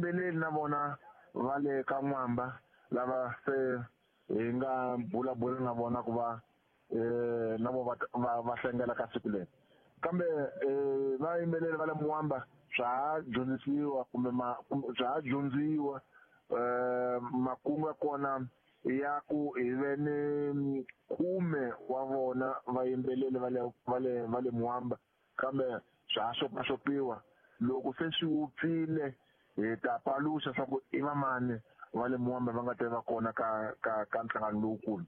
Vayimbeleri na vona va le ka N'wamba lava se hi nga bulabula na vona ku va na vo va hlengela ka siku leri. Kambe vayimbeleri va le Mwamba swa ha dyondzisiwa kumbe swa ha dyondziwa makungu ya kona ya ku hi ve ni khume wa vona vayimbeleri va le Mwamba, kambe swa ha xopaxopiwa. Loko se swi wupfile, hi ta paluxa swa ku i vamani va le Mwamba va nga ta va kona ka nhlangano lowukulu.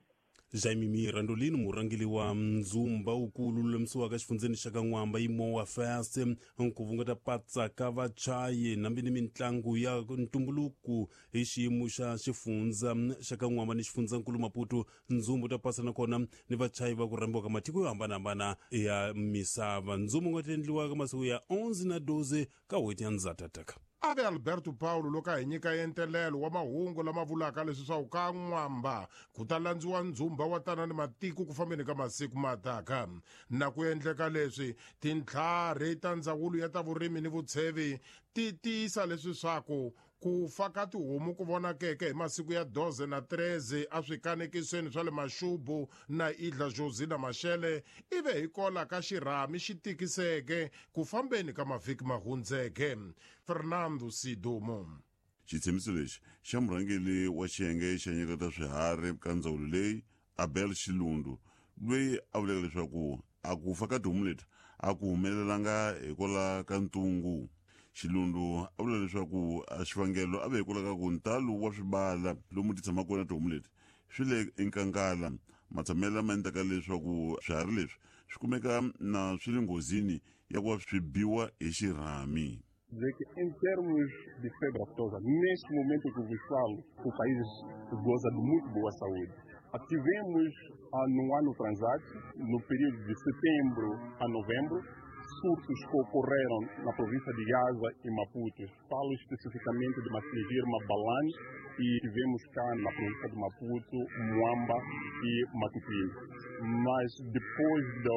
Jaime Mirandolino, murhangeri wa ndzumba wukulu lulamisiwaka exifundzeni xa ka N'wamba Imowa Fest, nkuvu nga ta patsaka vachayi nambi ni mitlangu ya ntumbuluko hi xiyimo xa xifundza xa ka N'wamba ni xifundzankulu Maputo. Ndzumbu ta pasa nakona ni vachayi va ku rhambiwa ka matiko yo hambanahambana ya misava. Ndzumbu nga ta endliwa ka masiku ya 11 na 12 ka n'hweti ya Ndzhatataka. Ave Alberto Paulo loko a hi nyika entelelo wa mahungu lama vulaka leswi swa ku ka N'wamba ku ta landziwa ndzumba wa tana ni matiko ku fambeni ka masiku mataka. Na ku endleka leswi, tintlhari ta ndzawulo ya ta vurimi ni vutshevi ti tiyisa leswi swaku ku fa ka tihomu ku vonakeke hi masiku ya 12 na 13 a swikanekisweni swa le Maxubu na Idla Josina Mashele ive hi kola ka xirhami xi tikiseke ku fambeni ka mavhiki mahundzeke. Fernando Sidumo. Xitshembiso lexi xa murhangeri wa xiyenge xa nyika ta swiharhi ka ndzawulo leyi, Abel Xilundu, loyi a vuleke leswaku a ku fa ka tihomu leti a ku humelelanga hikwalaho ka ntungu. Xilundu a vula leswaku a xivangelo a ve hikwalaho ka ku ntalo wa swibala lomu ti tshamaka kona tihomu leti swi le enkangala, matshamelo lama endlaka leswaku swiharhi leswi swi kumeka na swi le nghozini ya ku va swi biwa hi xirhami. Dizer que, em termos de febre aftosa, neste momento que vos falo, o país goza de muito boa saúde. Tivemos, no ano transato, no período de setembro a novembro, surtos que ocorreram na província de Gaza e Maputo. Falo especificamente de Massingir, Mabalane e tivemos cá na província de Maputo, Moamba e Matutuine. Mas depois de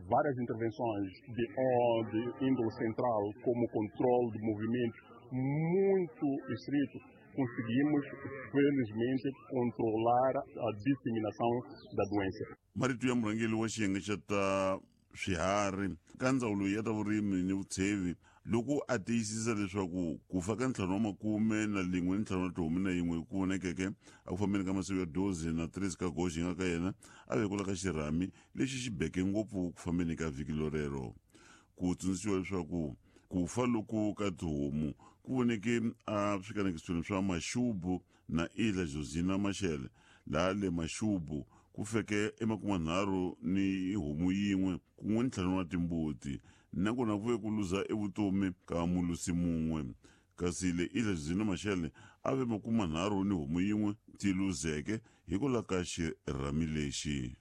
várias intervenções de índole central, como controle de movimentos muito estrito, conseguimos, felizmente, controlar a disseminação da doença. Marito ya murhangeri wa xiyenge xa ta swiharhi ka ndzawulo ya ta vurimi ni vutshevi loko a tiyisisa leswaku ku fa ka 51 ni ntlhanu wa tihomu na yin'we ku vonekeke a ku fambeni ka masiku ya 12 na 13 ka goxi nga ka yena a vekula ka xirhami lexi xi beke ngopfu ku fambeni ka vhiki lorero. Ku tsundzuxiwa leswaku ku fa loku ka tihomu ku voneke a swikanekisweni swa Maxubu na Ila Josina Mashele, laha le Maxubu ku feke emakumanharhu ni homu yin'we kun'we ni ntlhanu wa timbuti, nakona ku ve ku luza evutomi ka mulusi mun'we, kasi le Ila Josina Mashele a ve makumanharhu ni homu yin'we ti luzeke hikwalaho ka xirhami lexi.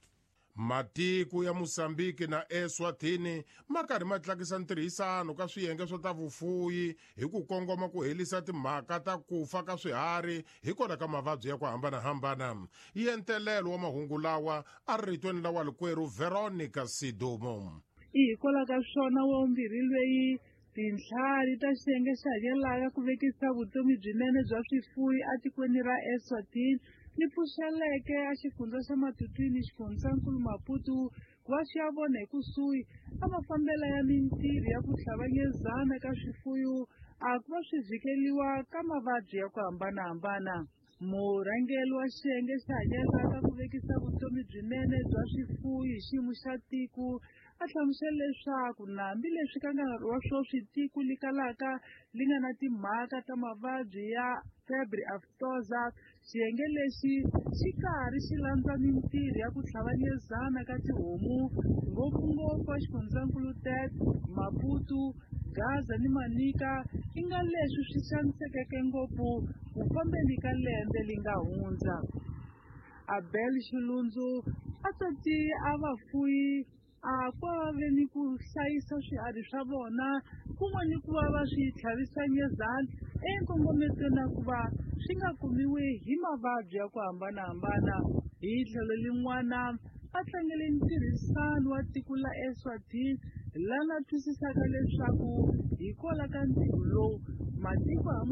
Matiko ya Mosambiki na Eswatini ma karhi ma tlakisa ntirhisano ka swiyenge swa ta vufuyi hi ku kongoma ku helisa timhaka ta ku fa ka swiharhi hikwalaho ka mavabyi ya ku hambanahambana. Yentelelo wa mahungu lawa a ri ritweni la walikwerhu Veronica Sidumo. I hikwalaho ka swona wa vumbirhi lweyi tintlhari ta xiyenge xa hakelaka ku vekisa vutomi byinene bya swifuyi etikweni ra Eswatini li pfuxeleke a xifundza xa Matutuine, xifundzankulu Maputo, ku va swi ya vona hi kusuhi a mafambelo ya mintirho ya ku hlanganyezana ka swifuyo a ku va swi vhikeliwa ka mavabyi ya ku hambanahambana. Murhangeri wa xiyenge xa hakelaka ku vekisa vutomi byinene bya swifuyo hi xiyimo xa tiko a hlamusela leswaku hambileswi ka nkarhi wa sweswi tiko li kalaka li nga na timhaka ta mavabyi ya febre aftosa, xiyenge lexi xi karhi xi landza mintirho ya ku hlanganyezana ka tihomu, ngopfungopfu a xifundzankulu Tete, Maputo, Gaza ni Manica, i nga leswi swi xanisekeke ngopfu ku fambeni ka lembe li nga hundza. Abel Xilundzu a tati a vafuyi a ku va ve ni ku hlayisa swiharhi swa vona kun'we ni ku va va swi tlhavisa nyezana enkongometweni na ku va swi nga kumiwi hi mavabyi ya ku hambanahambana. Hi tlhelo lin'wana a tlangele ntirhisano wa tiko la Eswatini lana twisisaka leswaku hikwalaho ka ntirho lowu matiko hama